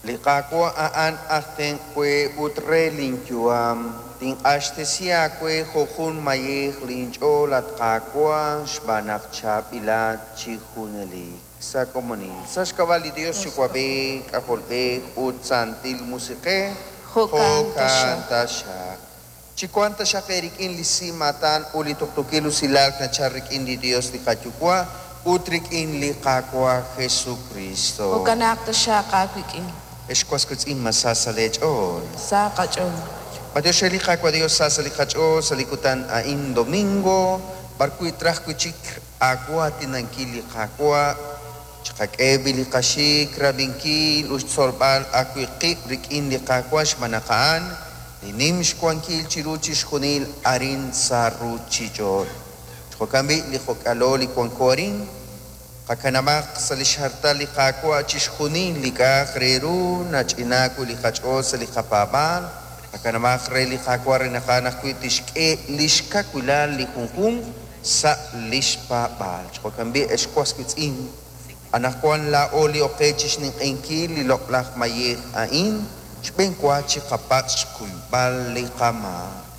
Li Qaawa' a'an aj tenq' we ut re linyu'am. Tinq'axtesi aawe jo' jun mayej linch'ool, at Qaawa', xb'aan naq chaab'ilat chi junelik. Sa' komonil, sa' xk'ab'a' li Yos Yuwa'b'ej, K'ajolb'ej ut Santil Musiq'ej, Jo'kan taxaq. Taxaq. Chiwanq taxaq eerik'in li simaatan ut li tuqtuukil usilal nachalk rik'in li Yos li qaYuwa' ut rik'in li Qaawa' Jesukristo. Jo'kanaq taxaq aawik'in. Ex was wiitz'in, ma sa sa' leech'ool? Sa qach'ool. Matiox re li Qaawa' Dios sa sa' li qach'ool sa' li kutan a'in domingo, b'arwi' traj wi' chik aawaatinankil li Qaawa', chiqak'e b'i' li qaxik, rab'inkil ut xtzolb'al ajwi' qib' rik'in li Qaawa' xb'aan naq a'an li nim xwankil chiru chixjunil arin sa' ruuchich'och'. Jo'kan b'i' li jo'k'alo li wanko arin, qakanab'aq sa' li xhartal li Qaawa' chixjunil li k'a'aq re ru nach'inaak wi' li qach'ool sa' li qapaab'aal, qakanab'aq re li Qaawa' re naq a'an ajwi' tixk'e li xkawilal li junjunq sa' li xpaab'aal. Jo'kan b'i' ex was wiitz'in, anaqwan laa'o li oqe chixninq'ehinkil li loq'laj mayej a'in, xb'enwa chiqapatz' xkuyb'al li qamaak.